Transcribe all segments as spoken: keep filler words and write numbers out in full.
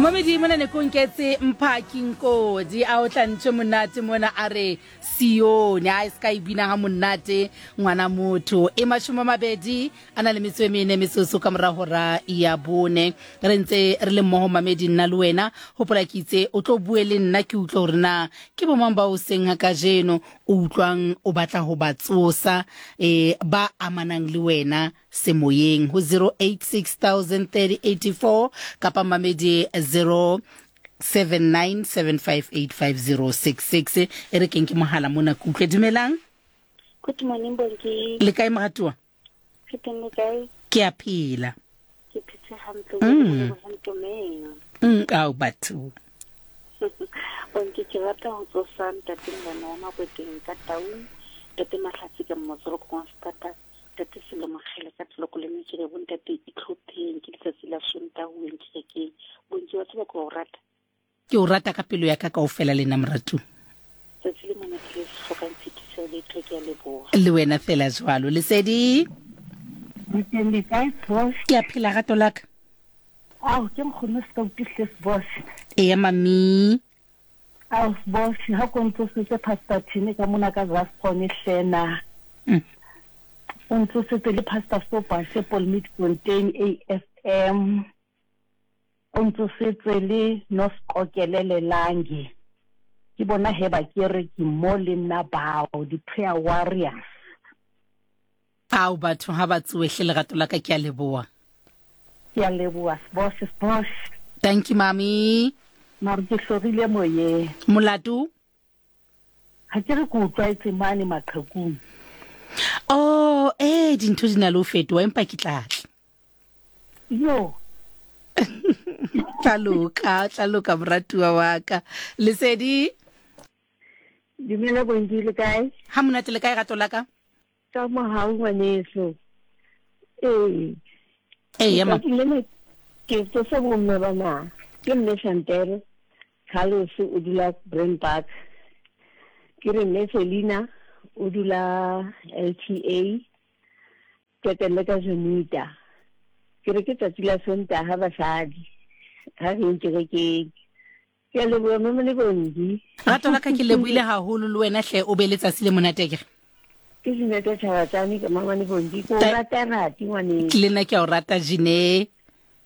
Momedi mona ne konketse Mphaki Nkodi a o tlantse monate mona a re Sione a se ka e bina ha monate ngwana motho e mashome a mabedi a na le metso e mene metsotso ka mora hora ya bone re ntse re le mmoho mamedi nna le wena hopola ke itse o tlo bue le nna ke utlwe hore na ke bomang ba o seng ha kajeno o utlwang o batla ho ba tsosa eh ba amanang le wena semoyeng ho zero eight six thousand thirty eighty four kapa mamedi zero seven nine seven five eight five zero six six e re keng ke mohala mona ke utlwe dumelang. Good morning Bongi. Le kae moratuwa? Ke teng le kae? Ke a phela. Ke phetse hantle mm. Mm, ao batho. Bongi ke rata ho tsosa ntate ngwana wa Makweteng ka Taung, ntate Mahlatsi ka Mmotsolo Constata, ntate Selomokgele ka Tloloko le Mekere, bontate itlhopheng ke letsatsi la Sontaha ho yeng kerekeng. Bongi wa tseba ke o rata. Ke o rata ka pelo ya ka kaofela le nna moratu. Tsatsi le monate le hlokang tshitiso le tho ke a leboha. Le wena fela jwalo. Lesedi. Le kae boss? Ke a phela rato la ka. Ao ke nkgono se ka utlwisise boss. Eya mami. Ao boss ha ko ntsosetse Pastor Tine ka mona ka Zascon hlena. Mm. O ntsosetse le Pastor Sopa se Paul Fontaine A F M. O ntsosetse le Noskokelele Langi. Ke bona he ba ke re ke mo le nna bao di prayer warriors. Ao batho ha ba tsoehle lerato la ka ke a leboha. Ke a leboha boss boss. Thank you mami. Mare ke hlorile moyeng. Molato? Ha ke re ke utlwaetse mane maqhekung. Oh, eh dintho di na le ho fetoha empa ke tla tla. Yo. Tla loka, tla loka moratuwa wa ka. Lesedi. Dumela Bongi le kae? Ha monate le kae rato la ka? Ka mohau ngwaneso. Ee. Ee, ma. Ke tsosa bomme bana. Ke mme Chantel Carlos o dula Brand Park. Ke re mme Selina o dula L T A. Ke ka Junita. Ke re ke tsatsi la Sontaha basadi. Ha re kerekeng. Ke a leboha mme le Bongi. Rato la ka ke lebohile haholo le wena hle o be letsatsi le monate akere. Ke Jeanette Tjhabatsane ka mama le Bongi. Ke o rata rati ngwaneso. Le nna ke a o rata Jine.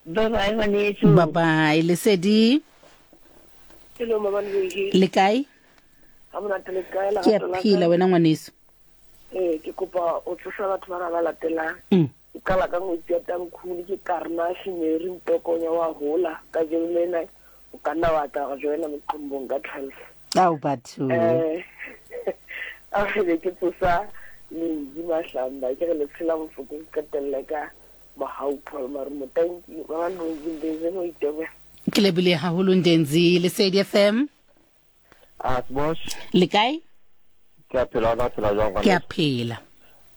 Bye bye ngwaneso. Bye bye Lesedi. Hello mama Bongi. Le kae? Ha monate le kae la Ke a phela wena ngwaneso. Eh ke kopa o tsosa batho ba ba latelang. Mm. Ke qala ka ngwetsi ya Tamkhulu ke Karna Shimeri Ntokonya wa hola ka jeno lena o ka nna wa tla go joina moqombong ka twelve. Ao batho. Eh a re ke tsosa Linzi Mahlamba ke re le tshela bofokong qetelle ka Mohau Paul Marumo. Thank you ba ba Ndenzi no itebe. Ke lebile haholo Ndenzi. Lesedi F M. Ah boss. Le kae? Ke a phela la phela jwang Ke a phela.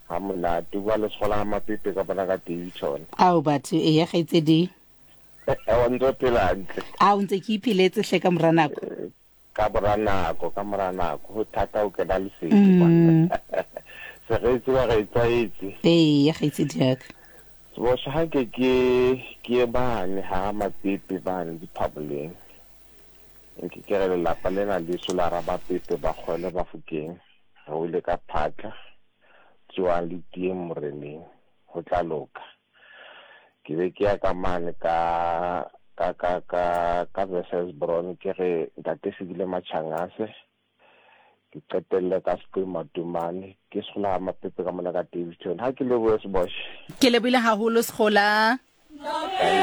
Ha monate bua le Sekgola ha Mapepe ka bona ka Davidson. Ao batho e ya kgaitsedi. Eh wa ntse phela hantle. Ao ntse ke ipheletse hle ka mora nako. Ka mora nako, ka mora nako ho thata ho kena lesedi kwana. Se re tseba re tlwaetse. Ee, ya kgaitsedi ya ka. Boss ha ke ke ke bane ha Mapepe bane diphaboleng. Nke ke re lelapa lena le solara ba Pepe ba kgole ba Fokeng. Re wele ka phatla. Tsoang le teng moreneng ho tla loka. Ke be ke ya ka mane ka ka ka ka ka versus Brown ke re ntate Sebile Machangase. Ke qetelle ka Sekwe Matumane ke Sekgola Mapepe ka mona ka Davidson. Ha ke lebohe Sebosh. Ke lebohile haholo Sekgola.